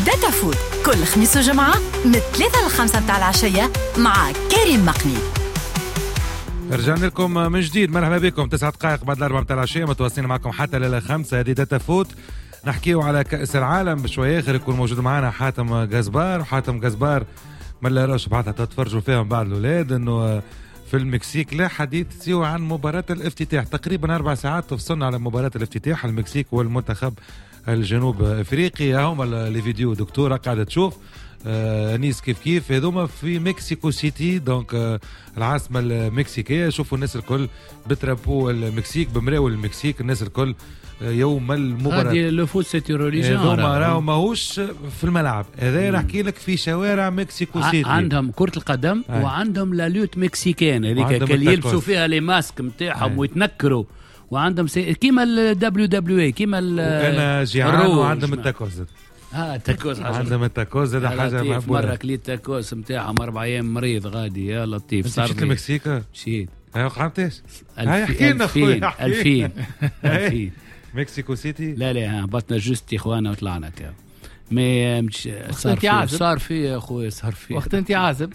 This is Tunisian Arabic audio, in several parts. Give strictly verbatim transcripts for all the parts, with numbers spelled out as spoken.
داتا فوت كل خميس وجمعة من ثلاثة لخمسة متاع العشية مع كريم مقني. رجعنا لكم من جديد، مرحبا بكم. تسعة دقائق بعد الأربعة متاع العشية، متواصلين معكم حتى للخمسة. هذه داتا فوت، نحكيو على كأس العالم. بشوية آخر يكون موجود معنا حاتم غزبار، وحاتم غزبار من لا راش بعدها تتفرجوا فيهم بعض الأولاد إنه في المكسيك لا حديث سوى عن مباراة الافتتاح. تقريبا أربع ساعات تفصلنا على مباراة الافتتاح، المكسيك والمنتخب الجنوب افريقي. هما les vidéos دكتورة قاعدة تشوف آه نيس كيف كيف هذوما في مكسيكو سيتي، donc آه العاصمة المكسيكيه. شوفوا الناس الكل ب drapeau المكسيك، بمراول المكسيك، الناس الكل آه يوم المباراة. هذه le foot c'est une religion، هذوما راهو ماهوش في الملعب، هذا نحكي لك في شوارع مكسيكو سيتي. عندهم كره القدم آه. وعندهم la lutte mexicaine هذيك اللي يلبسوا فيها les masques نتاعهم ويتنكروا، وعندهم سي... كيما ال WWE، كيما ال انا جيعان، وعندهم التاكوز. اه التاكوز، عندهم التاكوز هذا حاجة مهبوله. مرة كليت تاكوز نتاعهم اربع ايام مريض غادي، يا لطيف. صار مشيت المكسيك؟ مشيت. هاي قعدتش؟ هاي احكي لنا خويا. ألفين ألفين مكسيكو سيتي. لا لا هبطنا juste تيخوانا وطلعنا كا mais مش صار في صار في يا خويا، صار في وقت انت عازب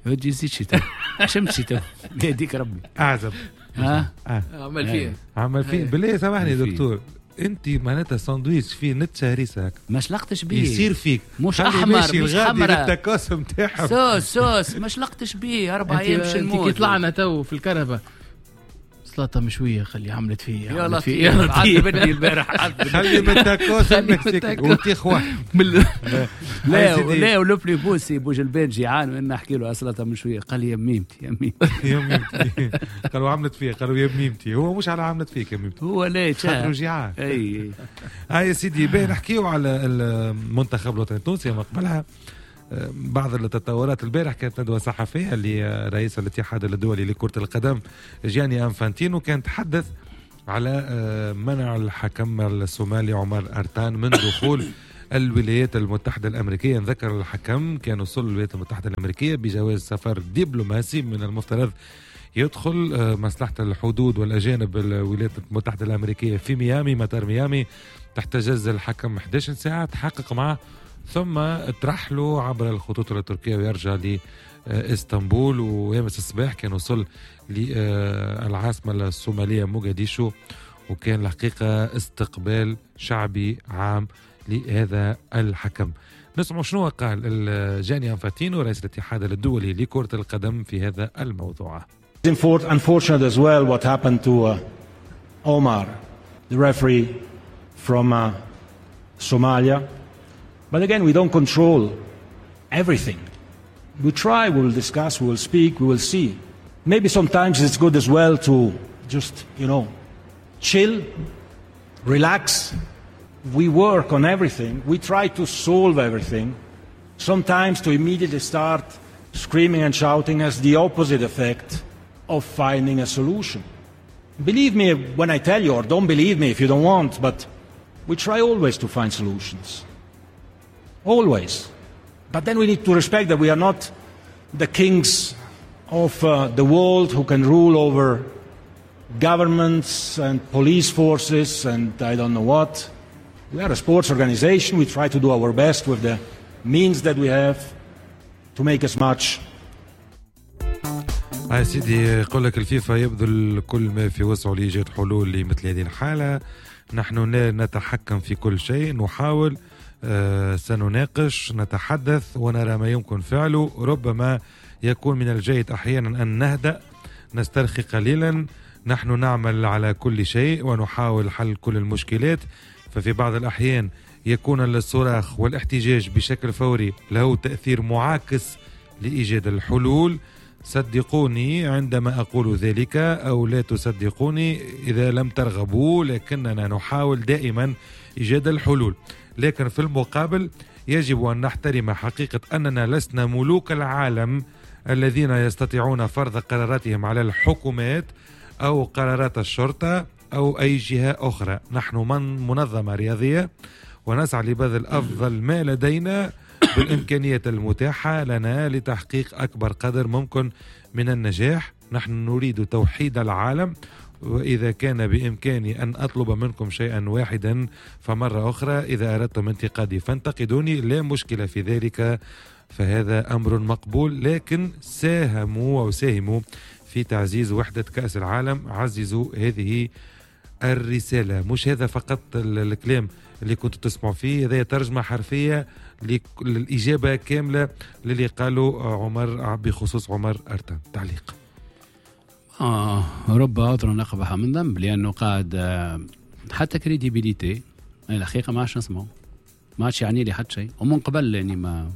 ودي زيد شي تو شمسي تو يهديك ربي. اعزب ها عمل فيه عمل فيه بالله. سامحني دكتور، انت معناتها ساندويتش فيه نتشه هريسه هكا ما شلقتش بيه، يصير فيك مش احمر مش حمراء التاكوس نتاعهم sauce sauce ما شلقتش بيه اربع ايام باش نموت. كي طلعنا تو في الكرهبه سلطة مشوية خلي عملت فيه يا لطيف، عذبتني البارح، خلي من التاكوس المكسيكي وتيخوا. لا لا ولو بلي بوسي بوجلبان جيعان وانا نحكي له سلطة مشوية قال لي يا ميمتي يا ميمتي يا ميمتي. قالوا عملت فيه، قالوا يا ميمتي، هو مش على عملت فيك يا ميمتي، هو لا خاطر جيعان. اي هاي يا سيدي باهي نحكيو على المنتخب الوطني التونسي. ما قبلها بعض التطورات. البارح كانت ندوة صحفية لرئيس الاتحاد الدولي لكرة القدم جياني أنفانتينو، كان تحدث على منع الحكم الصومالي عمر أرتان من دخول الولايات المتحدة الأمريكية. نذكر الحكم كان وصل الولايات المتحدة الأمريكية بجواز سفر دبلوماسي، من المفترض يدخل مصلحة الحدود والأجانب الولايات المتحدة الأمريكية في ميامي، مطار ميامي. تحتجز الحكم إحدى عشرة ساعة، تحقق معه ثم ترحلوا عبر الخطوط التركية ويرجع لإسطنبول. ويامس الصباح كان وصل للعاصمة الصومالية موغاديشو، وكان الحقيقة استقبال شعبي عام لهذا الحكم. نسمع شنو قال جاني أنفاتينو رئيس الاتحاد الدولي لكرة القدم في هذا الموضوع. Unfortunate as well what happened to uh, Omar, the referee from uh, Somalia. But again, we don't control everything. We try, we will discuss, we will speak, we will see. Maybe sometimes it's good as well to just, you know, chill, relax. We work on everything. We try to solve everything. Sometimes to immediately start screaming and shouting has the opposite effect of finding a solution. Believe me when I tell you, or don't believe me if you don't want, but we try always to find solutions. Always. But then we need to respect that we are not the kings of uh, the world who can rule over governments and police forces and I don't know what. We are a sports organization. We try to do our best with the means that we have to make as much. يا سيدي يقول لك الفيفا يبذل كل ما في وسعه لإيجاد حلول لمثل هذه الحالة. نحن لا نتحكم في كل شيء، نحاول، آه، سنناقش، نتحدث ونرى ما يمكن فعله. ربما يكون من الجيد أحيانا أن نهدأ، نسترخي قليلا. نحن نعمل على كل شيء ونحاول حل كل المشكلات، ففي بعض الأحيان يكون الصراخ والاحتجاج بشكل فوري له تأثير معاكس لإيجاد الحلول. صدقوني عندما أقول ذلك أو لا تصدقوني إذا لم ترغبوا، لكننا نحاول دائما إيجاد الحلول. لكن في المقابل يجب أن نحترم حقيقة أننا لسنا ملوك العالم الذين يستطيعون فرض قراراتهم على الحكومات أو قرارات الشرطة أو أي جهة أخرى. نحن من منظمة رياضية ونسعى لبذل أفضل ما لدينا بالإمكانيات المتاحة لنا لتحقيق أكبر قدر ممكن من النجاح. نحن نريد توحيد العالم وإذا كان بإمكاني أن أطلب منكم شيئا واحدا فمرة أخرى إذا أردتم انتقادي فانتقدوني، لا مشكلة في ذلك، فهذا أمر مقبول، لكن ساهموا أو ساهموا في تعزيز وحدة كأس العالم، عززوا هذه الرسالة. مش هذا فقط الكلام اللي كنتوا تسمعوا فيه، هذا ترجمة حرفية للإجابة كاملة للي قالوا عمر بخصوص عمر أرتان. تعليق. آه رب عذر أقبح من ذنب، لأنه قاعد حتى crédibilité الحقيقة ما عادش نسمعه، ما عادش يعني لي حتى شيء، ومن قبل يعني ما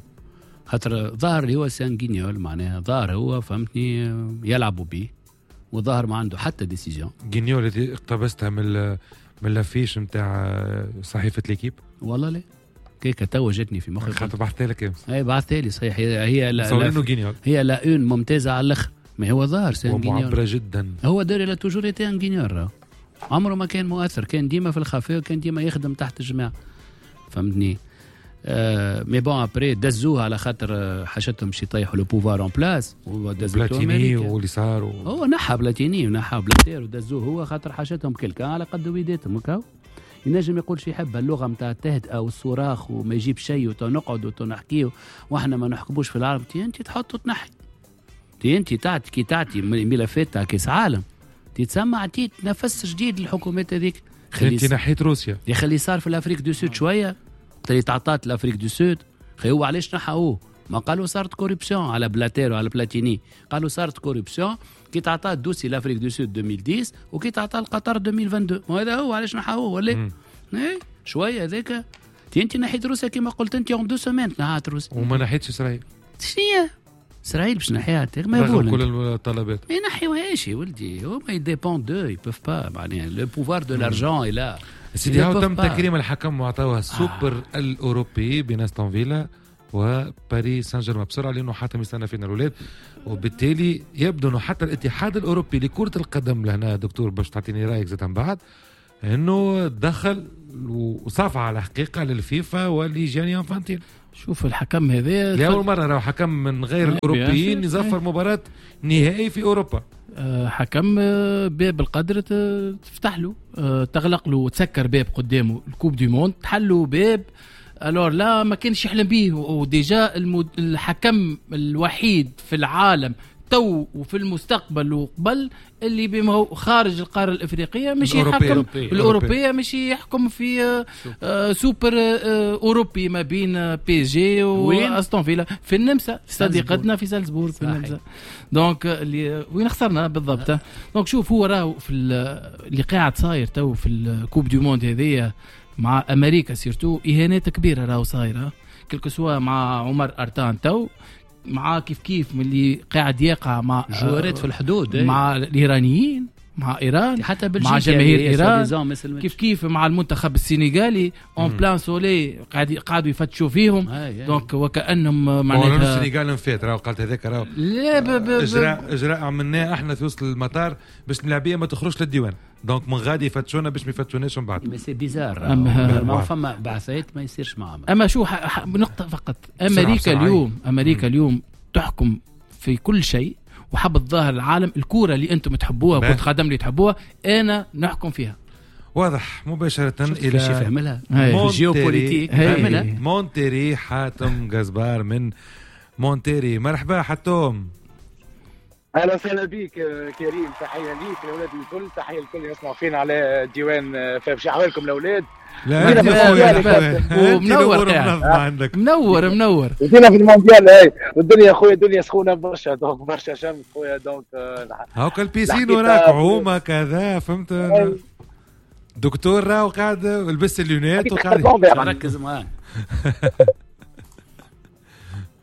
خاطر ظاهر اللي هو c'est un guignol، معناها ظاهر هو فهمتني يلعبوا به، وظاهر ما عنده حتى décision. guignol اللي اقتبستها من من l'affiche نتاع صحيفة L'Équipe. والله لا كيكة تو جاتني في مخي، خاطر بعثتها لك امس. اي بعثتها لي صحيح، هي هي لا هي la une ممتازة على الاخر، ما هو ظاهر c'est un guignol معبرة جدا. هو داري il a toujours été un guignol، عمره ما كان مؤثر، كان ديما في الخفاء وكان ديما يخدم تحت الجماعة فهمتني. آه mais bon après دزوه على خاطر حاجتهم باش يطيحوا le pouvoir en place، ودزوه بلاتيني واللي صار و... هو نحى بلاتيني ونحى بلاتير ودزوه هو خاطر حاجتهم quelqu'un على قد ويداتهم هكا. ينجم يقول شي يحب، اللغة نتاع التهدئه والصراخ وما يجيب شيء وتنقعد وتنحكيه واحنا ما نحكموش في العالم. تي انت تحط وتنحي، تي انت تعطي كي تعطي ملفات تاع كاس عالم تتسمى عطيت نفس جديد للحكومات هذيك. انت نحيت روسيا يا خلي صار في l'Afrique du Sud شوية، اللي تعطات l'Afrique du Sud خي هو علاش نحاوه؟ ما قالوا صارت corruption على بلاتير وعلى بلاتيني، قالوا صارت corruption كي تعطات dossier l'Afrique du Sud ألفين وعشرة وكي تعطى القطر ألفين واثنين وعشرين، وهذا هو علاش نحاوه ولا اي شوية هذاك. انت نحيت روسيا كيما قلت انت en deux semaines نحات روسيا، وما نحيتش اسرائيل. شنو اسرائيل باش نحيها؟ ما يقول كل الطلبات ما ينحيوهاش يا ولدي، هما ils dépendent d'eux، ils peuvent pas معناها le pouvoir de l'argent est là. سيدي هاو تم تكريم الحكم وعطاوها السوبر آه. الأوروبي بين أستون فيلا وباريس سان جيرمان بسرعة، لأنه حاتم يستنى فينا الأولاد، وبالتالي يبدو أنه حتى الاتحاد الأوروبي لكرة القدم لهنا دكتور باش تعطيني رأيك زاد من بعد، أنه دخل وصافع على حقيقة للفيفا ولجاني انفانتينو. شوف الحكم هذا لأول مرة راهو حكم من غير الأوروبيين يزفر مباراة نهائي في أوروبا. حكم باب القدر تفتح له، تغلق له وتسكر باب قدامه ال Coupe du Monde، تحلوا باب alors là ما كانش يحلم به. و déjà الحكم الوحيد في العالم تو وفي المستقبل وقبل اللي بما هو خارج القارة الافريقية مش يحكم الاوروبية، مش يحكم في آه سوبر آه اوروبي ما بين PSG واستون فيلا في النمسا، صديقتنا في سالزبورغ في النمسا. donc اللي وين خسرنا بالضبط. donc شوف هو راهو في اللي قاعد صاير تو في ال Coupe du Monde هذيا مع امريكا surtout اهانات كبيرة راهو صايرة، quel que soit مع عمر ارتان تو مع كيف كيف من اللي قاعد يقع مع جوارات في الحدود مع الايرانيين، مع ايران، حتى مع جماهير ايران، كيف كيف مع المنتخب السنغالي en plein soleil قاعد قاعدوا يفتشوا فيهم. donc وكانهم معناتها السنغال نفات راهو قالت هذاك راهو لا اجراء اجراء عملناه احنا في وسط المطار باش الملاعبيه ما تخرجش للديوان، donc من غادي يفتشونا باش ما يفتشوناش من بعد. mais c'est bizarre، ما فما بعثات ما يصيرش معهم. اما شو نقطة فقط، امريكا اليوم امريكا اليوم تحكم في كل شيء، وحب الظاهر العالم الكورة اللي انتم تحبوها كره قدم اللي تحبوها انا نحكم فيها. واضح مباشرة الى فهملها géopolitique مونتيري. حاتم جزبار من مونتيري، مرحبا حاتم. اهلا وسهلا بك كريم، تحية ليك الاولاد الكل، تحية لكل يسمعوا فينا على ديوان فاف. احوالكم الاولاد؟ لا ومنور عندك، منور منور بدينا في المونديال هاي، والدنيا خويا الدنيا سخونة برشا، donc برشا شمس خويا، donc هاكا ال piscine وراك عومه كذا فهمت دكتور، راهو قاعد لبس ال lunettes وقاعد ركز معاه.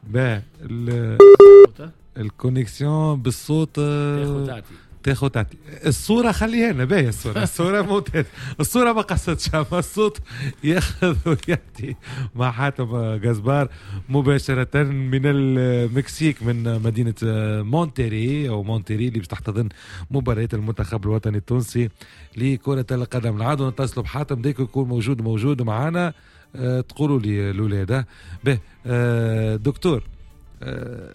با ال connexion بالصوت تاخذ تعطي الصورة خليها لنا باهيه، الصورة الصورة ممتاز، الصورة ما قصتش، اما الصوت ياخذ ويعطي. مع حاتم جزبار مباشرة من المكسيك من مدينة مونتيري او مونتيري اللي باش تحتضن مباراة المنتخب الوطني التونسي لكرة القدم. العادة نتصلوا بحاتم ديك يكون موجود موجود معنا. أه تقولوا لي الاولاد به. أه دكتور، أه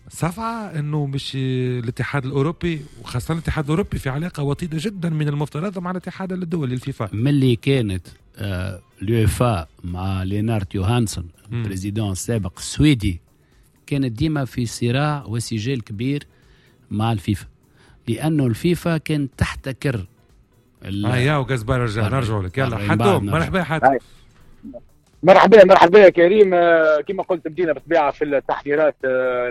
صفعة انه مش الاتحاد الاوروبي، وخاصة الاتحاد الاوروبي في علاقة وطيدة جدا من المفترض مع الاتحاد الدولي الفيفا. ملي كانت آه اليوفا مع لينارد يوهانسون ال président السابق السويدي، كانت ديما في صراع وسجال كبير مع الفيفا، لانه الفيفا كان تحتكر. اه يا وقزبار رجع، نرجع لك. يلا حتوم، مرحبا حاتم. مرحبا مرحبا يا كريم. كما قلت بدينا بالطبيعة في التحضيرات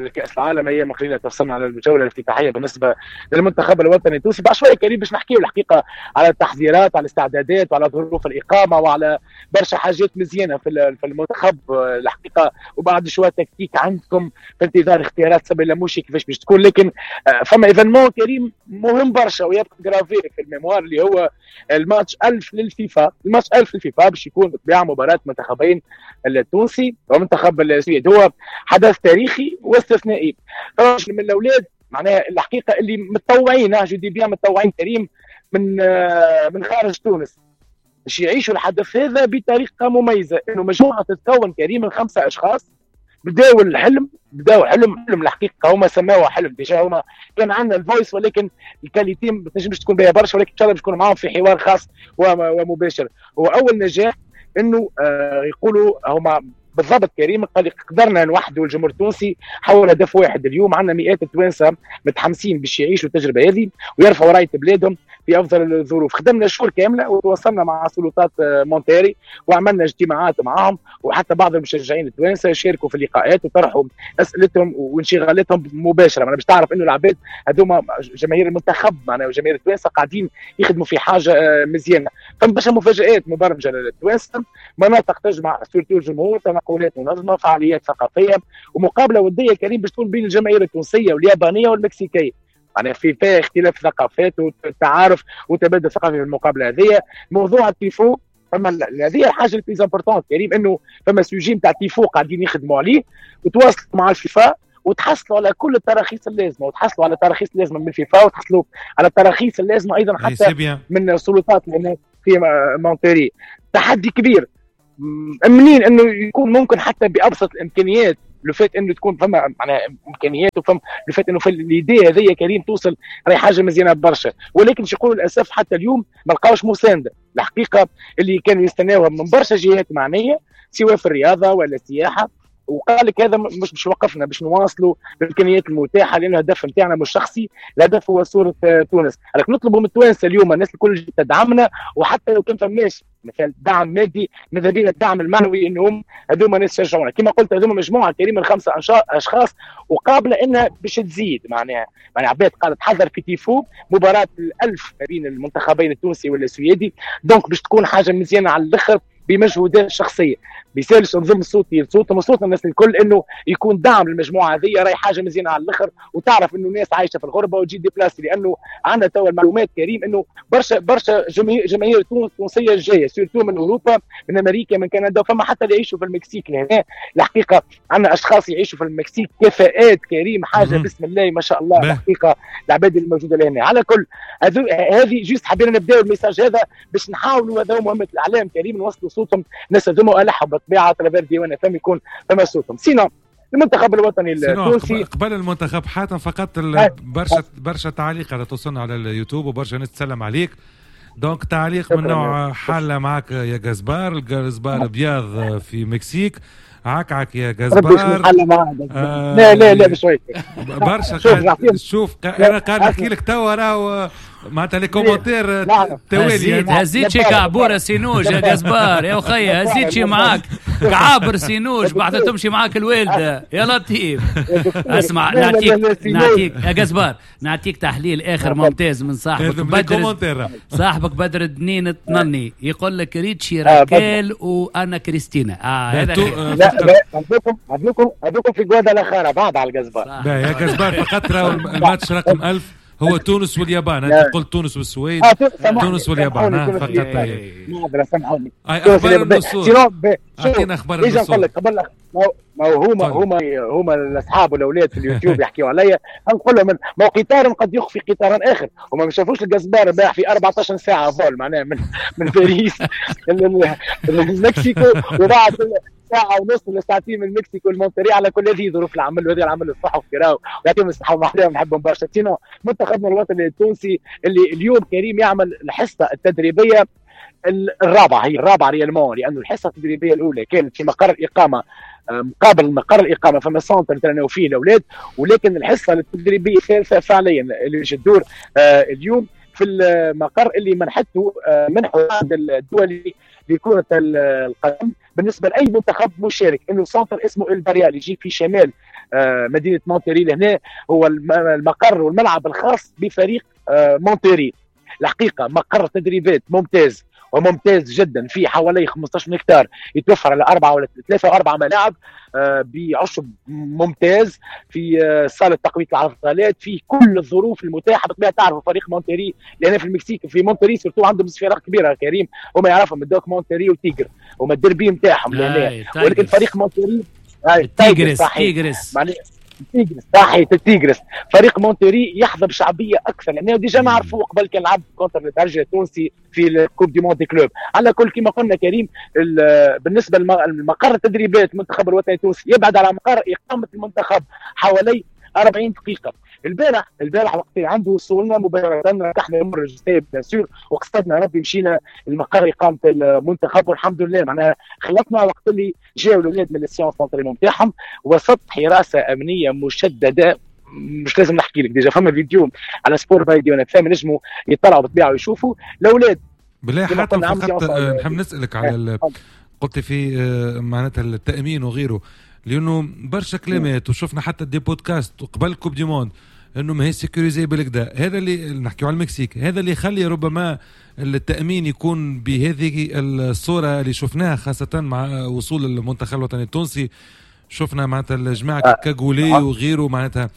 لكاس العالم، ايام قليله توصلنا على الجولة الافتتاحيه بالنسبة للمنتخب الوطني التونسي. بعد شوية كريم باش نحكيو الحقيقة على التحضيرات، على الاستعدادات، وعلى ظروف الاقامة، وعلى برشا حاجات مزيانه في في المنتخب الحقيقة، وبعد شوية تكتيك عندكم في انتظار اختيارات سامي اللموشي كيفاش باش تكون. لكن فما événement كريم مهم برشا ويبقى gravé في ال mémoire، اللي هو الماتش ألف للفيفا. الماتش ألف للفيفا باش يكون بالطبيعة مباراة منتخب بين التونسي ومنتخب السويد. هو حدث تاريخي واستثنائي. من الاولاد معناها الحقيقة اللي متطوعين، je dis bien متطوعين كريم، من من خارج تونس باش يعيشوا الحدث هذا بطريقة مميزة. انه مجموعة تتكون كريم من خمسة اشخاص بداوا الحلم، بداوا حلم حلم الحقيقة هما سماوه حلم. déjà هما كان عندنا ال voice، ولكن ال qualité ما تنجمش تكون بها برشا، ولكن ان شاء الله باش نكون معاهم في حوار خاص ومباشر. هو اول نجاح انه آه يقولوا هما بالضبط كريم، قال قدرنا نوحدوا الجمهور التونسي حول هدف واحد. اليوم عندنا مئات التوانسة متحمسين باش يعيشوا التجربة هذه ويرفعوا رايه بلادهم في افضل الظروف. خدمنا شهور كاملة وتواصلنا مع سلطات مونتيري وعملنا اجتماعات معهم، وحتى بعض المشجعين التوانسة شاركوا في اللقاءات وطرحوا اسئلتهم وانشغالاتهم مباشرة. معناها باش تعرف انه العباد هذوما جماهير المنتخب معناها وجماهير التوانسة قاعدين يخدموا في حاجة مزيانه. فما برشا مفاجات مبرمجه للتوانسه، مناطق تجمع surtout الجمهور، تنقلات منظمة، فعاليات ثقافية، ومقابله وديه كريم باش تكون بين الجماهير التونسية واليابانيه والمكسيكيه. يعني في فيها اختلاف ثقافات وتعارف وتبادل ثقافي في المقابلة هذه. موضوع التيفو، فما هذه الحاجة ال plus importante كريم، انه فما sujet نتاع تيفو قاعدين يخدموا عليه وتواصلوا مع الفيفا وتحصلوا على كل التراخيص اللازمة، وتحصلوا على التراخيص اللازمة من الفيفا، وتحصلوا على التراخيص اللازمة ايضا حتى من السلطات اللي في مونتيري. تحدي كبير منين انه يكون ممكن حتى بابسط الامكانيات، le fait انه تكون فما معناها امكانيات، وفما le fait انه في l'idée هذه كريم توصل راهي حاجة مزيانه برشا. ولكن باش يقولوا للاسف حتى اليوم ما لقاوش مساندة الحقيقة اللي كانوا يستناوها من برشا جهات معنية، سواء في الرياضة ولا السياحة. وقال لك هذا مش باش يوقفنا، باش نواصلوا بالامكانيات المتاحة، لان الهدف نتاعنا مش شخصي، الهدف هو صوره تونس. لكن نطلبوا من التوانسة اليوم الناس الكل تدعمنا، وحتى لو كان فماش مثلا دعم مادي، ماذا بينا الدعم المعنوي، انهم هذوما ناس يشجعونا. كما قلت هذوما مجموعة كريم من خمسة اشخاص وقابله انها باش تزيد. معناها معناها عباد قالت تحضر في تيفو مباراة الألف ما بين المنتخبين التونسي والسويدي، donc باش تكون حاجة مزيانه على الاخر بمجهودات شخصية. بيسالش نظم صوتي لصوتهم وصوتنا الناس الكل انه يكون دعم للمجموعة هذه، راهي حاجة مزيانه على الاخر. وتعرف انه الناس عايشه في الغربة وتجي déplacer، لانه عندنا توا المعلومات كريم انه برشا برشا جماهير تونسية جاية surtout من اوروبا، من امريكا، من كندا، وفما حتى اللي يعيشوا في المكسيك. لهنا الحقيقة عندنا اشخاص يعيشوا في المكسيك، كفاءات كريم، حاجة بسم الله ما شاء الله الحقيقة العباد الموجودة لهنا. على كل هذه juste حبينا نبداو ال message هذا باش نحاولوا، هذا مهمة الاعلام كريم، نوصلوا صوتهم الناس هذوما الحوا بالطبيعة travers ديوان فم يكون فما صوتهم. sinon المنتخب الوطني التونسي قبل المنتخب حاتم فقط برشا برشا تعليق على توصلنا على اليوتيوب وبرشا ناس تسلم عليك. donc تعليق من نوع حاله معك يا جزبار، الجزبار ابيض في مكسيك، عكعك يا جزبار. آه لا لا لا بشوي برشا. شوف انا قاعد نحكي لك توا راهو معناتها les commentaires توالي. هزيت شي كعبوره سينوج يا جزبار يا وخي، هزيت شي معاك كعابر سينوج بعد تمشي معاك الوالدة يا لطيف. اسمع نعطيك نعطيك يا جزبار نعطيك تحليل اخر ممتاز من صاحبك بدر، صاحبك بدر الدنين الطنني، يقول لك ريتشي راكيل وانا كريستينا. اه هذا لا لا هذوكم هذوكم هذوكم في غوادالاخارا بعد على الجزبار. يا جزبار فقط الماتش رقم ألف هو تونس واليابان. انت قلت تونس والسويد، تونس واليابان فقط. معذرة سامحوني. اخبار النصور، اعطينا اخبار النصور. نقول لك قبل ما هما هما هما الاصحاب والاولاد في اليوتيوب يحكيوا عليا، نقول لهم ما هو قطار قد يخفي قطارا اخر. هما ما شافوش الجزبار باع في أربعة عشر ساعة vol معناها من من باريس للمكسيكو وبعد ساعة ونص ولا ساعتين من المكسيك والمونتري. على كل هذه ظروف العمل وهذه العمل الصحفي راهو، ويعطيهم الصحة ومحلاهم، نحبهم برشا. sinon منتخبنا الوطني التونسي اللي اليوم كريم يعمل الحصة التدريبية الرابعة، هي الرابعة réellement، لانه الحصة التدريبية الاولى كانت في مقر الاقامة، مقابل مقر الاقامة فما centre ترناو فيه الاولاد، ولكن الحصة التدريبية الثالثة فعليا اللي باش تدور اليوم في المقر اللي منحته منحه الدولي لكرة القدم بالنسبة لاي منتخب مشارك، انه centre اسمه البريال يجي في شمال مدينة مونتري. لهنا هو المقر والملعب الخاص بفريق مونتري. الحقيقة مقر تدريبات ممتاز وممتاز جدا، في حوالي خمسة عشر هكتار، يتوفر على أربعة ولا ثلاثة وأربعة ملاعب بعشب ممتاز، في صالة تقوية العضلات، في كل الظروف المتاحة. بالطبيعة تعرفوا فريق مونتري لأن في المكسيك في مونتري surtout عندهم فرق كبيرة كريم، هما يعرفهم الدوك مونتري وتيجر هما الدربي نتاعهم لهنا، ولكن فريق مونتري تيجرس تيجرس تيجرس صحيح التيجرس. فريق مونتري يحظى بشعبيه اكثر لانه déjà نعرفوه قبل كان لعب contre الترجي التونسي في ال Coupe du monde des clubs. على كل كما قلنا كريم، بالنسبة لمقر التدريبات المنتخب الوطني التونسي يبعد على مقر اقامه المنتخب حوالي أربعين دقيقة. البارح البارح وقت عنده وصولنا مباشرة ركحنا الامور الجسدية bien sûr، وقصدنا ربي مشينا المقر اقامه المنتخب، والحمد لله معناها خلطنا وقت اللي جاوا الاولاد من ال séance d'entraînement نتاعهم وسط حراسة امنية مشددة. مش لازم نحكي لك déjà فما فيديو على سبور باي وانا فاهم نجموا يطلعوا بالطبيعة ويشوفوا الاولاد. بالله حتى فقط نحب نسالك على قلت في معناتها التامين وغيره، لانه برشا كلمات وشفنا حتى des podcasts قبل Coupe du monde انه ما هي sécurisée بالكدا. هذا اللي نحكيو على المكسيك، هذا اللي يخلي ربما التامين يكون بهذه الصورة اللي شفناها، خاصة مع وصول المنتخب الوطني التونسي. شفنا معناتها الجماعة cagoulés وغيره، معناتها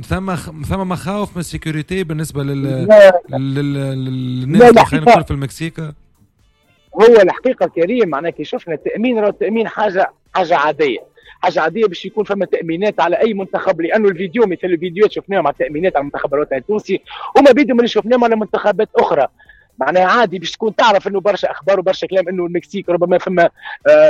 ثم ثم مخاوف من ال sécurité بالنسبة لل للناس خلينا نقول في المكسيك. هو الحقيقة كريم معناها كي شفنا التامين، راه التامين حاجة حاجة عادية، حاجة عادية باش يكون فما تامينات على اي منتخب، لانه الفيديو مثل الفيديوهات شفناهم على التامينات على المنتخب الوطني التونسي وما بيدهم اللي شفناهم على منتخبات اخرى. معناها عادي باش تكون تعرف انه برشا اخبار وبرشا كلام انه المكسيك ربما فما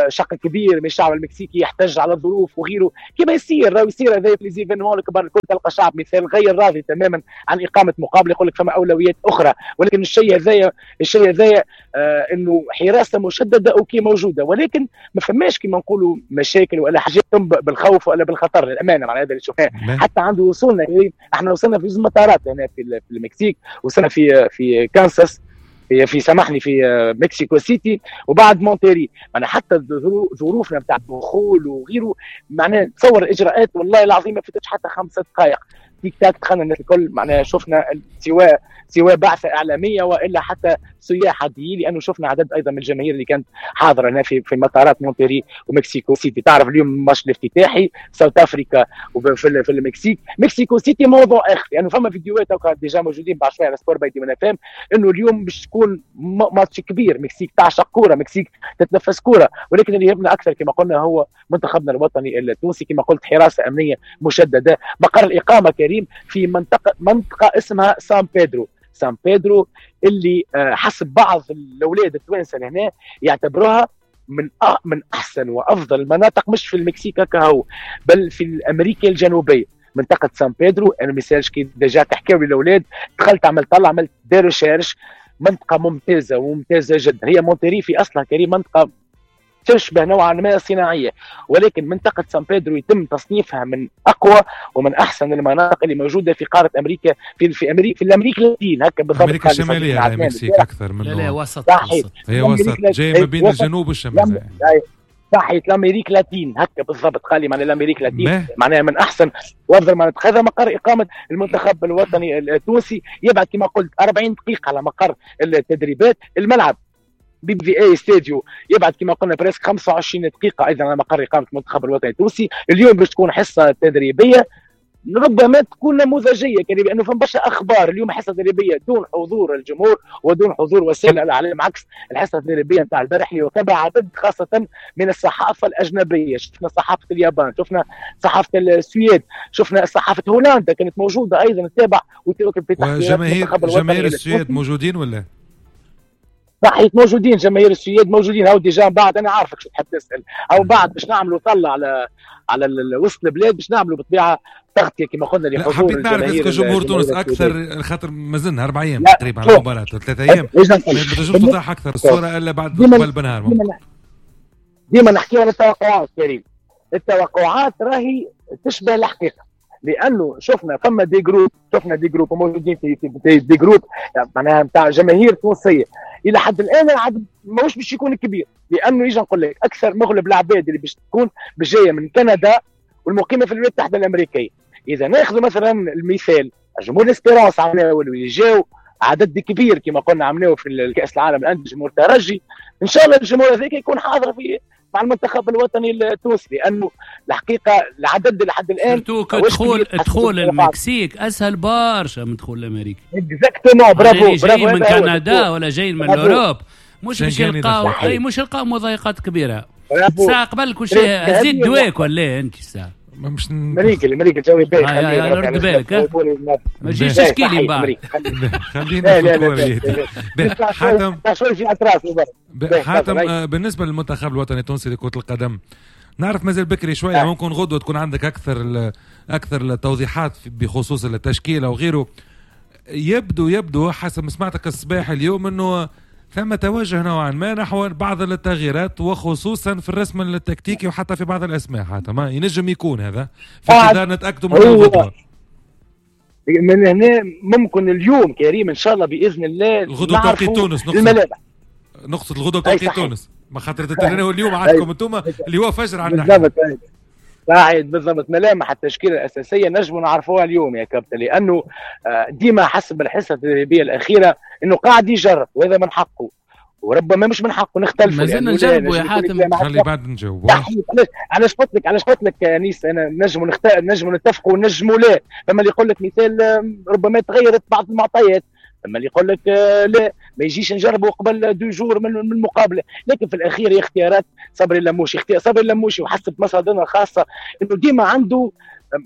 شق كبير من الشعب المكسيكي يحتج على الظروف وغيره، كما يصير راهو يصير هذا في les événements الكبار الكل، تلقى شعب مثال غير راضي تماما عن اقامه مقابله، يقول لك فما اولويات اخرى. ولكن الشيء هذايا الشيء هذايا آه انه حراسة مشددة OK موجودة، ولكن ما فماش كما نقولوا مشاكل ولا حاجات تنبأ بالخوف ولا بالخطر للامانة. معناها هذا اللي شفناه حتى عند وصولنا، احنا وصلنا في زوج مطارات هنا في المكسيك، وصلنا في في كانساس، في سامحني في مكسيكو سيتي وبعد مونتيري. معناها حتى ظروفنا نتاع الدخول وغيره، معناها تصور الاجراءات والله العظيم ما فاتتش حتى خمسة دقائق، tic tac دخلنا الناس الكل. معناها شفنا سواء سواء بعثه اعلامية والا حتى سياح عاديين، لانه شفنا عدد ايضا من الجماهير اللي كانت حاضره هنا في في مطارات مونتيري ومكسيكو سيتي. تعرف اليوم الماتش الافتتاحي South Africa وفي في المكسيك، مكسيكو سيتي موضوع اخر، لانه يعني فما فيديوهات déjà موجودين بعد شوية على سبور باي دي فام انه اليوم باش تكون ماتش كبير. مكسيك تعشق كورة، مكسيك تتنفس كورة، ولكن اللي يهمنا اكثر كما قلنا هو منتخبنا الوطني التونسي. كما قلت حراسة امنية مشددة، مقر الاقامة كريم في منطقة منطقة اسمها سان بيدرو. سان بيدرو اللي حسب بعض الاولاد التوانسة هنا يعتبروها من من احسن وافضل المناطق، مش في المكسيك كهو بل في امريكا الجنوبية. منطقة سان بيدرو انا مثالش كي déjà تحكيو للاولاد، دخلت عملت طلع عملت des recherches، منطقة ممتازة وممتازة جدا. هي مونتيري في اصلها كريم منطقة تشبه نوعا ما صناعية، ولكن منطقة سان بيدرو يتم تصنيفها من اقوى ومن احسن المناطق اللي موجودة في قارة امريكا، في في امريكا في الامريكا اللاتين هكا بالضبط. امريكا الشمالية يعني المكسيك اكثر من لا لا وسط، وسط. هي وسط جاي ما بين الجنوب والشمال. صحيح l'Amérique latine هكا بالضبط، قال لي معناها l'Amérique latine معناها من احسن وافضل مناطق. هذا مقر اقامه المنتخب الوطني التونسي، يبعد كما قلت أربعين دقيقة على مقر التدريبات. الملعب BBVA Estadio يبعد كما قلنا presque خمسة وعشرين دقيقة ايضا على مقر اقامه المنتخب الوطني التونسي. اليوم باش تكون حصة تدريبية ربما تكون نموذجيه، لانه فما برشا اخبار اليوم حصة تدريبية دون حضور الجمهور ودون حضور وسائل الاعلام، عكس الحصة التدريبية نتاع البارح اللي وتبع عدد خاصة من الصحافة الاجنبية. شفنا صحافة اليابان، شفنا صحافة السويد، شفنا صحافة هولندا كانت موجودة ايضا تتابع وتواكب في تحقيقات. جماهير جماهير السويد موجودين ولا؟ صحيح موجودين جماهير السويد موجودين، هاو déjà بعد انا عارفك شو تحب تسال، او بعد باش نعملوا طلع على على وسط البلاد باش نعملوا بالطبيعة تغطيه كما قلنا لحضور. حبيت نعرف est-ce que جمهور تونس اكثر، خاطر مازلنا اربع ايام تقريبا على المباراة، ثلاث ايام، ما تنجمش توضح اكثر الصورة الا بعد قبل بنهار. ديما نحكيو على التوقعات كريم، التوقعات راهي تشبه الحقيقة، لانه شفنا فما des groupes، شفنا des groupes موجودين في في des groupes معناها نتاع جماهير تونسية الى حد الان العدد ماهوش باش يكون كبير، لانه يجي نقول لك اكثر مغلب العباد اللي باش تكون جاية من كندا والمقيمه في الولايات المتحدة الامريكية. اذا ناخذ مثلا المثال جمهور الاسبيرانس عملناه واللي جاو عدد كبير كما قلنا عملناه في الكاس العالم الان جمهور ترجي، ان شاء الله الجمهور هذاك يكون حاضر في مع المنتخب الوطني التونسي، لانه الحقيقة العدد لحد الان دخول دخول المكسيك اسهل برشا من دخول امريكا. exactement، bravo bravo. جاي من كندا ولا جاي من l'Europe مش باش يلقاو اي مش يلقاو مضايقات كبيرة. ساعة قبل كل شيء زيد دواك ولا انت ساعة مش مريكل مريكل جوي باهي، رد بالك ما تجيش تشكي لي من بعد. خلينا في الكورة. حاتم حاتم بالنسبة للمنتخب الوطني التونسي لكرة القدم، نعرف مازال بكري شوية، ممكن غدوه تكون عندك اكثر اكثر التوضيحات بخصوص التشكيلة وغيره. يبدو يبدو حسب ما سمعتك الصباح اليوم انه ثم توجه نوعا ما نحو بعض التغييرات، وخصوصا في الرسم التكتيكي وحتى في بعض الاسماء. حتى ما ينجم يكون هذا في انتظار نتاكدوا من الغدوه. من هنا ممكن اليوم كريم ان شاء الله باذن الله الغدوه توقيت تونس، نقصد نقصد الغدوه توقيت تونس، ما خاطر تترينوا اليوم عندكم انتم اللي هو فجر عندنا. بالضبط صحيح بالضبط. ملامح التشكيلة الاساسية نجموا نعرفوها اليوم يا كابتن، لانه ديما حسب الحصة التدريبية الاخيرة انه قاعد يجرب، وهذا من حقه وربما مش من حقه نختلفوا. مازلنا نجربوا يا حاتم، خلي بعد نجاوب. علاش علاش قلت لك علاش قلت لك يا انيس انا نجموا نخت... نجموا نتفقوا ونجموا لا. فما اللي يقول لك مثال ربما تغيرت بعض المعطيات، اما اللي يقول لك لا ما يجيش نجربه قبل deux jours من المقابلة. لكن في الاخير هي اختيارات صبري اللموشي، اختيار صبري اللموشي وحسب مصادرنا الخاصة انه ديما عنده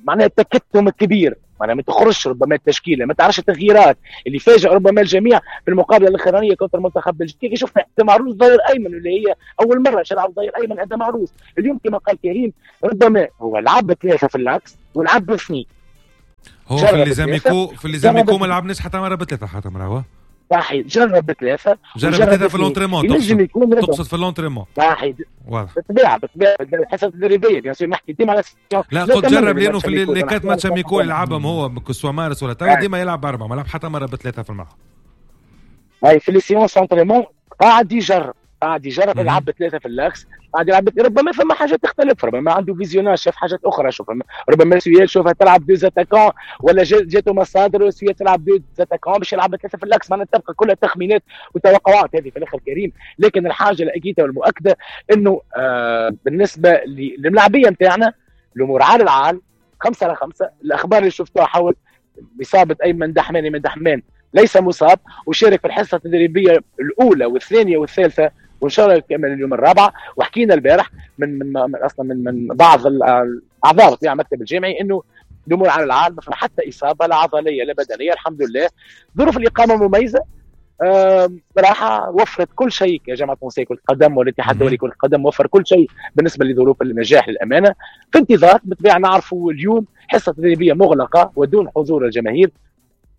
معناها التكتم الكبير، معناها ما تخرجش ربما التشكيلة، ما تعرفش التغييرات اللي فاجئ ربما الجميع في المقابلة الاخرانية contre المنتخب البلجيكي. شفنا ادم عروس ظهير ايمن اللي هي اول مرة يلعب ظهير ايمن ادم عروس. اليوم كما قال كريم ربما هو لعب ثلاثة في l'axe ولعب باثنين. هو في les amicaux في les amicaux ما لعبناش حتى مرة بثلاثة، حتى مرة صحيح جرب بثلاثة، جرب بثلاثة في l'entraînement، تقصد في l'entraînement صحيح واضح بالطبيعة بالطبيعة الحصة التدريبية bien sûr نحكي ديما على لا قلت جرب لانه في les quatre matchs amicaux يلعبهم هو que ce soit مارس ولا توا ديما يلعب اربعة، ما لعب حتى مرة بثلاثة في الملعب. هاي في les séances entraînement قاعد يجرب قاعد يجرب يلعب بثلاثة في l'axe، قاعد يلعب ربما فما حاجات تختلف، ربما عنده visionnage شاف حاجات اخرى، شوف ربما سويل شوفها تلعب deux attaquants ولا جاتو مصادر سويل تلعب deux attaquants باش يلعب بثلاثة في l'axe. معناتها تبقى كلها تخمينات وتوقعات هذه في الاخر كريم. لكن الحاجة الاكيده والمؤكده انه آه بالنسبة للملاعبيه نتاعنا الامور عال العال خمسة على خمسة. الاخبار اللي شفتوها حول اصابه ايمن دحمان، ايمن دحمان ليس مصاب وشارك في الحصة التدريبية الاولى والثانية والثالثة وان شاء الله يكمل اليوم الرابعة. وحكينا البارح من من, من اصلا من من بعض الاعضاء في المكتب الجامعي انه الامور على العال، ما فما حتى اصابه لا عضلية لا بدنية الحمد لله. ظروف الاقامة مميزة، راحة وفرت كل شيء يا جامعه تونسية كره القدم والاتحاد الدولي كره القدم وفر كل شيء بالنسبة لظروف النجاح للامانة. في انتظار بالطبيعة نعرفوا اليوم حصة تدريبية مغلقة ودون حضور الجماهير،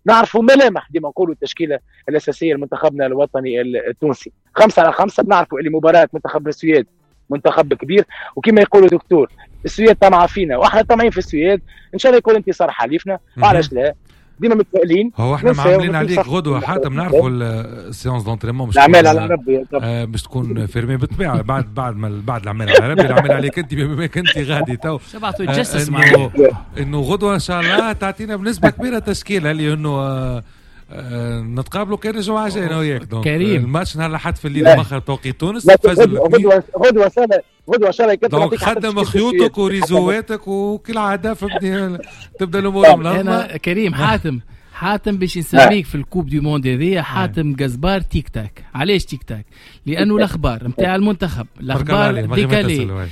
نعرفوا ملامح ديما نقولوا التشكيلة الاساسية لمنتخبنا الوطني التونسي خمسة على خمسة. بنعرفوا اللي مباراة منتخب السويد منتخب كبير، وكما يقولوا دكتور السويد طمعه فينا واحنا طمعين في السويد، ان شاء الله يكون انتصار حليفنا. وعلاش لا، ديما متفائلين. هو احنا معاملين عليك غدوه حاتم، نعرفوا ال séance d'entraînement مش العمال على ربي باش تكون fermée بالطبيعة بعد بعد ما بعد العمال على ربي، العمال عليك انت بما انت غادي تو شبعتوا يتجسس معنا انه غدوه ان شاء الله تعطينا بنسبة كبيرة تشكيله، لانه آه آه نتقابلوا كان الجمعة الجاية انا وياك. donc الماتش نهار الاحد في الليل مؤخر توقيت تونس فجر غدوه غدوه سنة غدوه ان شاء الله. donc خدم خيوطك وريزواتك وكالعادة فهمتني تبدا الامور منظمة. انا كريم حاتم حاتم باش نسميك في ال coupe du monde هذيا حاتم قزبار تيك تاك. علاش تيك تاك؟ لانه الاخبار نتاع المنتخب الاخبار décalées،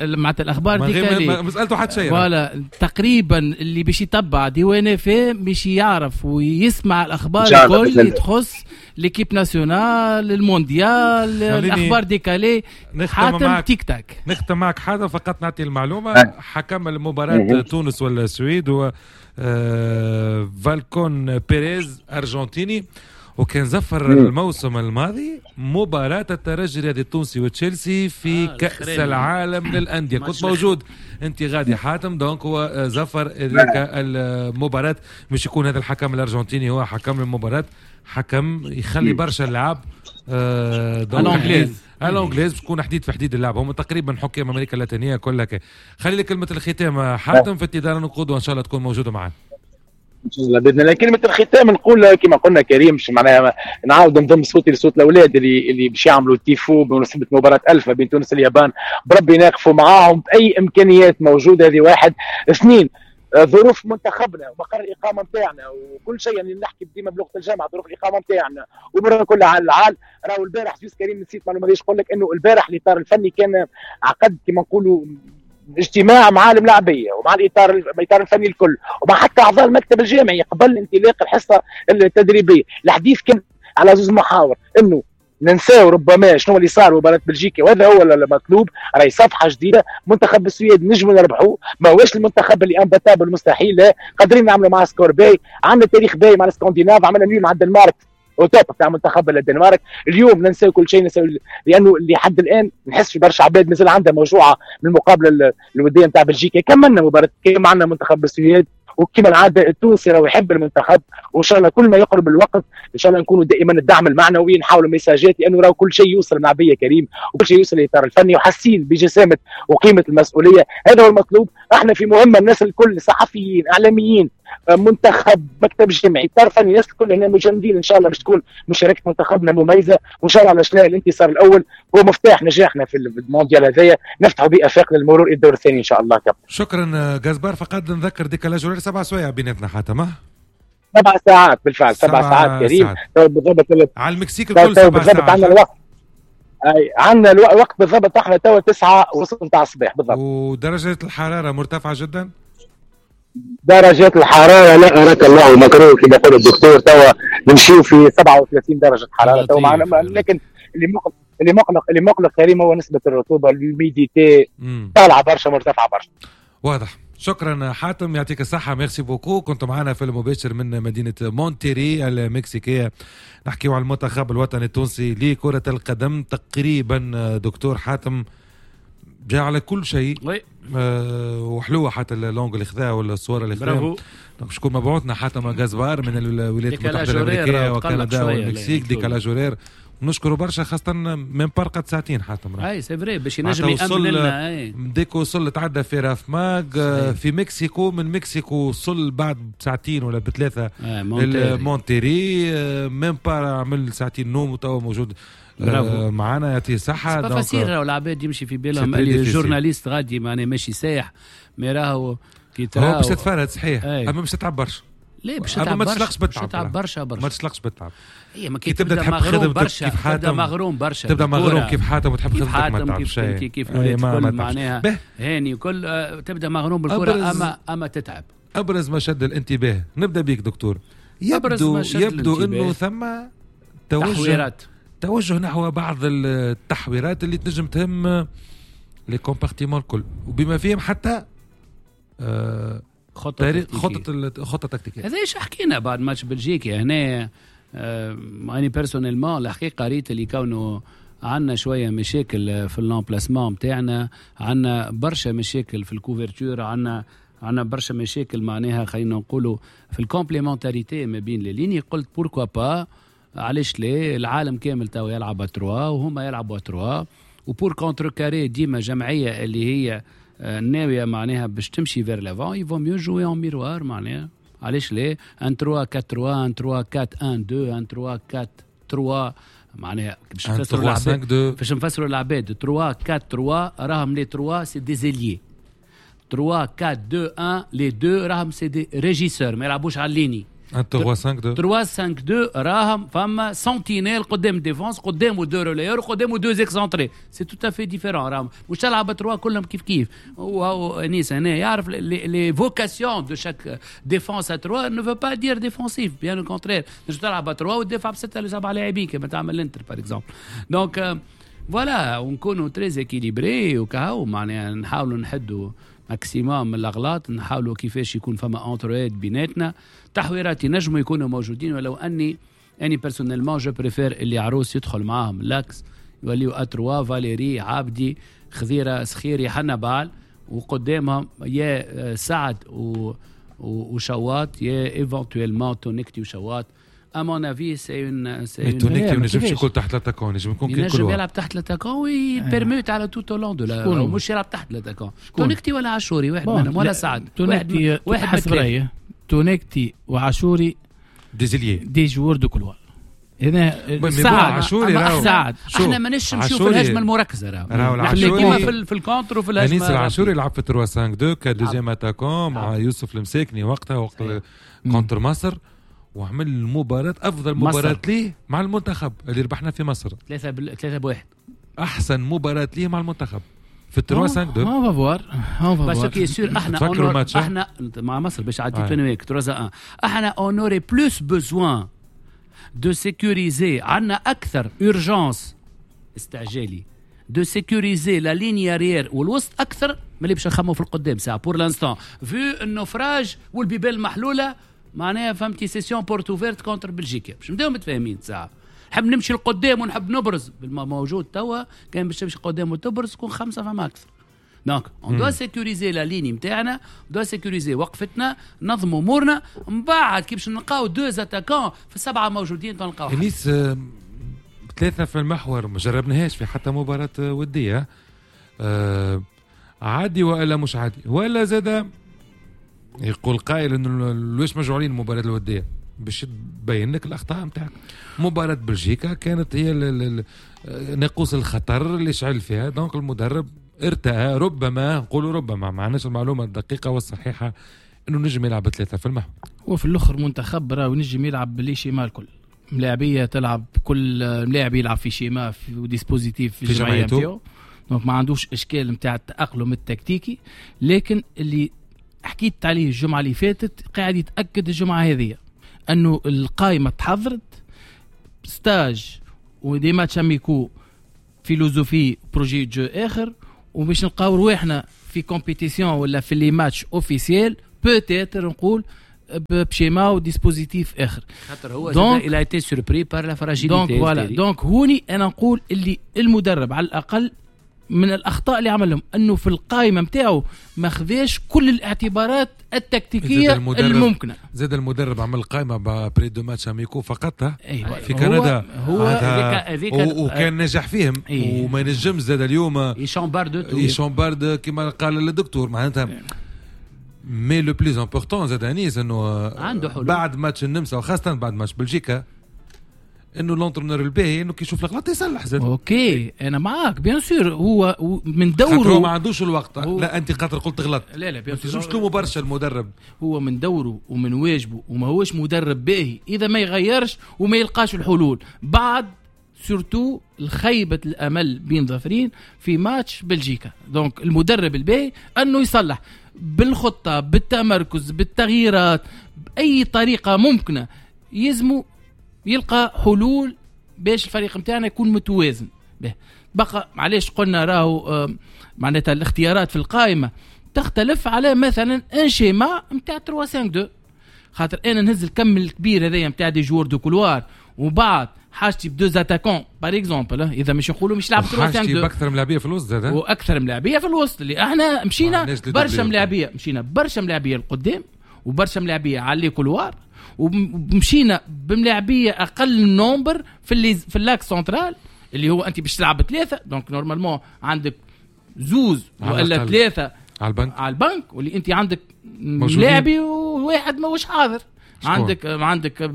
معناتها الاخبار décalées ما سالته حتى شيء voilà. تقريبا اللي باش يتبع ديوان فيه باش يعرف ويسمع الاخبار الكل اللي تخص l'équipe nationale، المونديال، الاخبار décalées. حاتم tic tac. نختم معك حاتم، فقط نعطي المعلومة، حكم المباراة تونس ولا السويد هو آه فالكون بيريز ارجنتيني، وكان زفر الموسم الماضي مباراة الترجي الرياضي التونسي وتشيلسي في آه كأس العالم للأندية. كنت موجود أنت غادي حاتم، donc هو زفر ذلك المباراة. مش يكون هذا الحكم الأرجنتيني هو حكم المباراة، حكم يخلي برشا اللعب آه à l'anglaise، à l'anglaise باش تكون حديد في حديد اللعب. هم تقريبا حكام أمريكا اللاتينية كلها. خلي لك كلمة الختام حاتم في انتظار نقود، وإن شاء الله تكون موجودة معنا ان شاء الله باذن الله. كلمة الختام نقول كما قلنا كريم، مش معناها نعاود نضم صوتي لصوت الاولاد اللي اللي باش يعملوا تيفو بمناسبة مباراة الفا بين تونس واليابان، بربي ناقفوا معاهم باي امكانيات موجودة. هذه واحد. اثنين، ظروف منتخبنا ومقر الاقامة نتاعنا وكل شيء، يعني نحكي ديما بلغه الجامعة، ظروف الاقامة نتاعنا وامورنا كلها على العال. راهو البارح juste كريم نسيت معلومة ليش نقول لك انه البارح الاطار الفني كان عقد كما نقولوا اجتماع مع الملاعبيه ومع الاطار الاطار الفني الكل ومع حتى اعضاء المكتب الجامعي قبل انطلاق الحصة التدريبية. الحديث كان على زوج محاور، انه ننساو ربما شنو اللي صار مباراة بلجيكا، وهذا هو المطلوب. راهي صفحة جديدة، منتخب السويد نجموا نربحوه، ماهوش المنتخب اللي imbattable مستحيل، لا قادرين نعملوا معاه score باهي، عندنا تاريخ باهي مع الاسكندناف، عملنا nul مع الدنمارك au top تاع منتخب الدنمارك. اليوم ننساو كل شيء، ننساو لانه لحد الان نحس في برشا عباد مازال عندها موجوعه من المقابلة الودية نتاع بلجيكا. كملنا مباراة كما عندنا منتخب السويد، وكما العادة التونسي راهو يحب المنتخب، وان شاء الله كل ما يقرب الوقت ان شاء الله نكونوا دائما الدعم المعنوي، نحاولوا ميساجات، لانه راهو كل شيء يوصل مع كريم وكل شيء يوصل للاطار الفني، وحاسين بجسامه وقيمه المسؤولية. هذا هو المطلوب. احنا في مهمة، الناس الكل صحفيين اعلاميين منتخب مكتب جامعي اطار فني، الناس الكل هنا مجندين ان شاء الله باش تكون مشاركة منتخبنا مميزة، وان شاء الله على شنو الانتصار الاول هو مفتاح نجاحنا في المونديال هذايا، نفتحوا به افاق للمرور الى الدور الثاني ان شاء الله. كابتن شكرا جاسبار. فقط نذكر décalage horaire سبع سوايع بيناتنا حاتم، سبع ساعات بالفعل، سبع ساعات كريم بالضبط على المكسيك الكل، سبع بالضبط ساعات عندنا الوقت، اي عندنا الوقت بالضبط، احنا توا تسعة ونص نتاع الصباح بالضبط. ودرجة الحرارة مرتفعة جدا، درجات الحرارة لا أراك الله مكروه كما يقول الدكتور، توا نمشيو في سبعة وثلاثين درجه حرارة توا معنا، لكن اللي مقلق اللي مقلق اللي مقلق كريم هو نسبه الرطوبة، l'humidité طالعه برشا، مرتفعة برشا. واضح. شكرا حاتم، يعطيك الصحة، merci beaucoup. كنت معنا في المباشر من مدينة مونتيري المكسيكية، نحكيو على المنتخب الوطني التونسي لكرة القدم. تقريبا دكتور حاتم جاء على كل شيء، آه وحلوة حتى l'angle اللي خذاه ولا الصورة اللي خذاها. donc شكون مبعوثنا حاتم غازبار من الولايات المتحدة الأمريكية وكندا والمكسيك، décalage horaire. نشكره برشا، خاصة من برقة ساعتين حاتم. اي c'est vrai باش ينجم يأمن لنا. اي dès que وصل تعدى في راف ماغ في مكسيكو، من مكسيكو وصل بعد ساعتين ولا بثلاثة مونتيري، même pas عمل ساعتين نوم وتوا موجود معنا، يعطيه الصحة. c'est facile راهو العباد يمشي في بالهم اللي journaliste غادي معناها ماشي سايح، mais راهو كي تراهو باش تتفرد صحيح، اما باش تتعب برشا. ليه باش تتعب برشا؟ ما تشلقش بالتعب برشا برشا، ما تشلقش بالتعب. هي ما كي تبدا تحب خدمتك كيف حاتم، تبدا مغروم برشا، تبدا مغروم كيف حاتم وتحب خدمتك ما تعبش كيف كيف كل معناها هاني وكل، تبدا مغروم بالكرة اما اما تتعب. ابرز ما شد الانتباه، نبدا بيك دكتور، يبدو يبدو انه ثم توجه توجه نحو بعض التحويرات اللي تنجم تهم les compartiments الكل، وبما فيهم حتى آه خطة خطة خطة تكتيكية. هذا ايش حكينا بعد ماتش بلجيكا هنا. آه أنا personnellement الحقيقة ريت اللي كونه عندنا شوية مشاكل في l'emplacement نتاعنا، عندنا برشا مشاكل في ال couverture، عندنا عندنا برشا مشاكل معناها خلينا نقولوا في ال complémentarité ما بين les lignes. قلت pourquoi pas، علاش لا، العالم كامل تو يلعب à trois وهما يلعبوا à trois، و pour contrecarrer ديما جمعية اللي هي ناوية معناها باش تمشي vers l'avant، il vaut mieux jouer en miroir معناها علاش لا، واحد ثلاثة أربعة واحد ثلاثة أربعة واحد اثنين واحد ثلاثة أربعة ثلاثة معناها باش نفسروا العباد، باش نفسروا العباد ثلاثة أربعة ثلاثة راهم les ثلاثة c'est des ailiers، ثلاثة أربعة اثنين واحد les اثنين راهم c'est des régisseurs ما يلعبوش على ال ligne. ثلاثة خمسة اثنين ثلاثة خمسة اثنين راهم فما sentinelle قدام défense، قدامه deux relayeurs، قدامه deux excentrés، c'est tout à fait différent. راهم مش تلعب trois كلهم كيف كيف. وهو انيس هنا يعرف les vocations de chaque défense à trois ne veut pas dire défensif، bien au contraire. تنجم تلعب trois وتدافع بسته لسبعة لاعبين كما تعمل الانتر par exemple. donc voilà ونكونوا très équilibrés وكهو، معناها نحاولوا نحدوا maximum من الاغلاط، نحاولوا كيفاش يكون فما entraide بيناتنا، تحويرات ينجموا يكونوا موجودين، ولو اني اني personnellement je préfère اللي عروس يدخل معاهم l'axe، يوليو à trois فاليري عابدي خذيره سخيري حنبال، وقدامهم يا سعد و وشواط يا éventuellement تونكتي وشواط. à mon avis c'est une c'est une تونكتي ما ينجمش يكون تحت l'attaquant، ينجم يكون كي ينجم يلعب تحت l'attaquant وي permute على tout au long de la، مش يلعب تحت l'attaquant. تونكتي ولا عاشوري واحد منهم ولا سعد تونكتي واحد حسب رايي تونكتي وعاشوري des ailiers des joueurs de couloir. هنا سعد عاشوري سعد احنا ماناش نمشيو في الهجمة المركزة، راهو نحن ديما في, في ال contre وفي الهجمة. انيس العاشوري لعب في ثلاثة خمسة اثنين ك deuxième attaquant مع يوسف المساكني وقتها وقت contre مصر، وعمل مباراة أفضل مباراة ليه مع المنتخب اللي ربحنا في مصر ثلاثة بل... ثلاثة بواحد، أحسن مباراة ليه مع المنتخب في ثلاثة خمسة اثنين. on va voir on va voir parce que sûr احنا on... احنا مع مصر باش عديت انا وياك ثلاثة واحد، احنا on aurait plus besoin de sécuriser، عندنا اكثر urgence استعجالي de sécuriser la ligne arrière والوسط اكثر من اللي باش نخمو في القدام ساعة pour l'instant vu ال naufrage والبيبان المحلولة، معناها فهمتي session porte ouverte contre بلجيكا باش نبداو متفاهمين. ساعة نحب نمشي لقدام ونحب نبرز بالموجود توا، كان باش تمشي قدام وتبرز تكون خمسة فما اكثر. donc on doit sécuriser la ligne نتاعنا، doit sécuriser وقفتنا، نظموا امورنا، من بعد كي باش نلقاو deux attaquants في السبعة موجودين تلقاو. انيس ثلاثة في المحور ما جربناهاش في حتى مباراة وديه، أه عادي والا مش عادي؟ ولا زاد يقول قائل انه ليش مجعولين المباراة الودية باش تبين لك الاخطاء نتاعك. مباراة بلجيكا كانت هي ناقوس الخطر اللي شعل فيها، donc المدرب ارتأى ربما، نقولوا ربما ما عندناش المعلومة الدقيقة والصحيحه، انه نجم يلعب ثلاثة في المحور. وفي الاخر منتخب راه نجم يلعب ب les schémas الكل، ملاعبيه تلعب كل ملاعب يلعب في schéma في dispositif في الجمعية نتاعو، donc ما عندوش اشكال نتاع التاقلم التكتيكي. لكن اللي حكيت عليه الجمعة اللي فاتت قاعد يتأكد الجمعة هذه أنه القائمة تحضرت، stage و des matchs amicaux، philosophie projet de jeu آخر، وباش نلقاو رواحنا في compétition ولا في les matchs officiels peut-être نقول ب schéma و dispositif آخر. خاطر هو il a été surpris par la fragilité. donc voilà، donc هوني أنا نقول اللي المدرب على الأقل من الأخطاء اللي عملهم أنه في القائمة متاعه ما خذاش كل الاعتبارات التكتيكية الممكنة. زاد المدرب عمل قائمة après deux matchs amicaux فقط أيوة. في كندا هو, هو وكان نجح فيهم. أيوة. وما نجم زاد اليوم ي chambarde ي chambarde كما قال الدكتور معناتها. mais le plus important زاد انيس انه بعد ماتش النمسا وخاصة بعد ماتش بلجيكا انه l'entraîneur الباهي انه كي يشوف الغلط يصلح زاد. OK انا معاك bien sûr، هو من دوره هو ما عندوش الوقت. هو لا انت خاطر قلت غلط، لا لا bien sûr مش تلوموا برشا المدرب، هو من دوره ومن واجبه، وما هوش مدرب باهي اذا ما يغيرش وما يلقاش الحلول بعد surtout الخيبه الامل بين ظفرين في ماتش بلجيكا. donc المدرب الباهي انه يصلح بالخطة بالتمركز بالتغييرات باي طريقه ممكنة، يزمو يلقى حلول باش الفريق نتاعنا يكون متوازن. به بقى معليش قلنا راهو معناتها الاختيارات في القائمة تختلف على مثلا un schéma نتاع ثلاثة خمسة اثنين، خاطر انا نهز الكم الكبير هذايا نتاع des joueurs de couloir وبعد حاجتي ب deux attaquants par exemple، اذا مش نقولوا مش لعب ثلاثة خمسة اثنين باكثر ملاعبيه في الوسط زاد، واكثر ملاعبيه في الوسط اللي احنا مشينا برشا ملاعبيه، مشينا برشا ملاعبيه لقدام وبرشا ملاعبيه على les couloirs، ومشينا بملاعبيه اقل nombre في اللي في l'axe central اللي هو انت باش تلعب ثلاثة، donc normalement عندك زوز ولا ثلاثة على البنك على البنك، واللي انت عندك لاعبي وواحد ماهوش حاضر. عندك عندك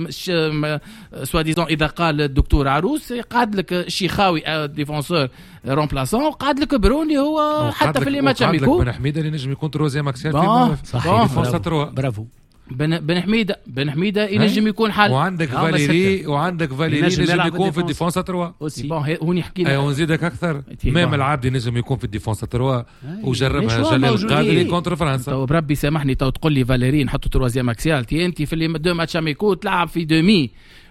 soi-disant اذا قال الدكتور عروس قعد لك الشيخاوي défenseur remplaçant، قعد لك بروني هو حتى في les matchs amicaux، قعد لك بن حميده اللي نجم يكون troisième axial في صحيح برافو. بن, بن حميده بن حميده ينجم يكون حل. وعندك فاليري وعندك فاليري ينجم يكون في ال défense trois. bon هوني حكينا اي ونزيدك اكثر même العبدي ينجم يكون في ال défense trois وجربها جلال القادري contre فرنسا. تو بربي سامحني تو تقول لي فاليري نحطو troisième axial، تي انت في les deux matchs amicaux تلعب في demi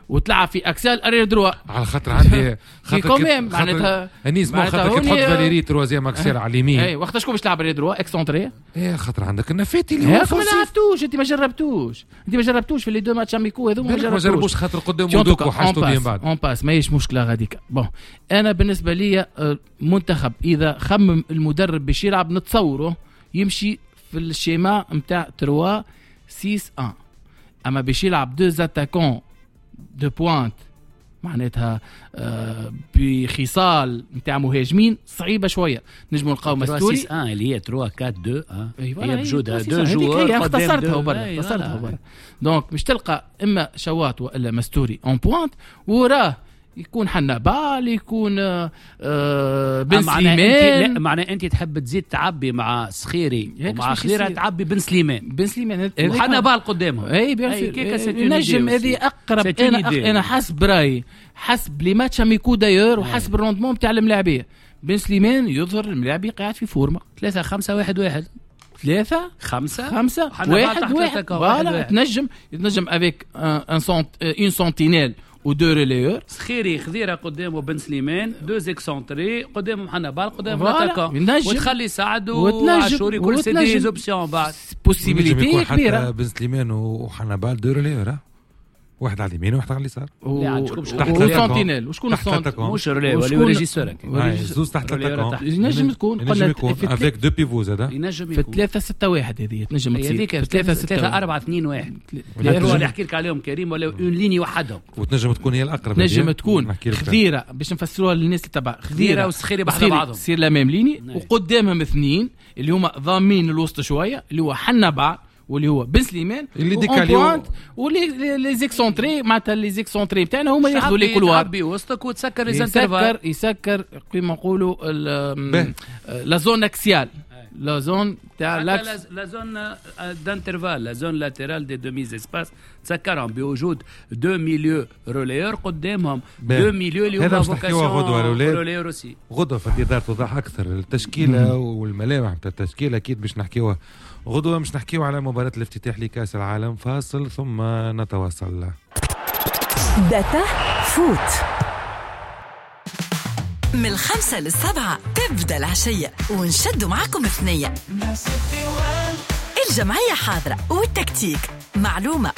وتلعب في axial arrière droit على خاطر عندي خاطر معناتها انيس مو خاطر كي تحط فاليري troisième axial على اليمين اي وقت شكون باش تلعب arrière droit excentré؟ اي خاطر عندك النفاتي اللي هو ما لعبتوش انت ما جربتوش انت ما جربتوش في les deux matchs amicaux هذوما ما جربوش خاطر قدام دوك وحاجته بهم بعد on passe ماهيش مشكلة غاديك. bon انا بالنسبة لي منتخب اذا خمم المدرب باش يلعب نتصوره يمشي في ال schéma نتاع ثلاثة ستة واحد، اما باش يلعب deux attaquants de pointe معناتها بخصال نتاع مهاجمين صعيبة شوية. نجموا نلقاو مستوري اه اللي هي ثلاثة أربعة اثنين هي بجودها deux joueurs اختصرتها وبرا اختصرتها وبرا. donc مش تلقى اما شواط والا مستوري en pointe وراه يكون حنبال يكون آه بن سليمان. لا معناه انت تحب تزيد تعبي مع سخيري ومع خضيره تعبي بن سليمان بن سليمان وحنبال قدامهم اي bien sûr نجم هذه اقرب. انا انا حسب رايي حسب les matchs amicaux d'ailleurs وحسب ال rendement تاع الملاعبيه بن سليمان يظهر الملاعبي قاعد في forme. ثلاثة خمسة واحد واحد ثلاثة خمسة خمسة واحد واحد voilà تنجم تنجم avec un une sentinelle و deux relayeurs سخيري خضيره قدامه بن سليمان deux excentrés قدامهم حنبال قدام l'attaquant وتخلي سعد وعاشوري كل c'est des options بعد possibilité كبيرة. بن سليمان وحنبال deux relayeurs واحد على اليمين وواحد على اليسار و sentinelle وشكون ال sentinelle مش relais ولا régisseur زوز تحت l'attaquant ينجم تكون قلنا avec deux pivots زاد ينجم يكون في ثلاثة ستة واحد هذه تنجم تصير في ثلاثة ستة أربعة اثنين واحد اللي نحكي لك عليهم كريم ولا une ligne وحدهم وتنجم تكون هي الاقرب. تنجم تكون خضيره باش نفسروها للناس اللي تبع خضيره وسخيري بحذا بعضهم sur la même ligne وقدامهم اثنين اللي هما ضامين الوسط شوية اللي هو حنبال واللي هو بن سليمان اللي décalé واللي les excentrés معناتها les excentrés بتاعنا هما ياخذوا les couloirs تعبي وسطك وتسكر les intervalles يسكر يسكر كيما نقولوا la zone axiale la zone تاع l'axe la zone d'intervalle la zone latérale des demi-espaces تسكرهم بوجود deux milieux relayeurs قدامهم deux milieux اللي هما vocation relayeurs aussi. غدوه في انتظار توضح اكثر التشكيلة والملامح تاع التشكيلة اكيد باش نحكيوها غدوة. مش نحكيو على مباراة الافتتاح لكأس العالم. فاصل ثم نتواصل. data foot من الخمسة للسبعة تبدأ العشية ونشدوا معكم ثنية. الجمعية حاضرة والتكتيك معلومة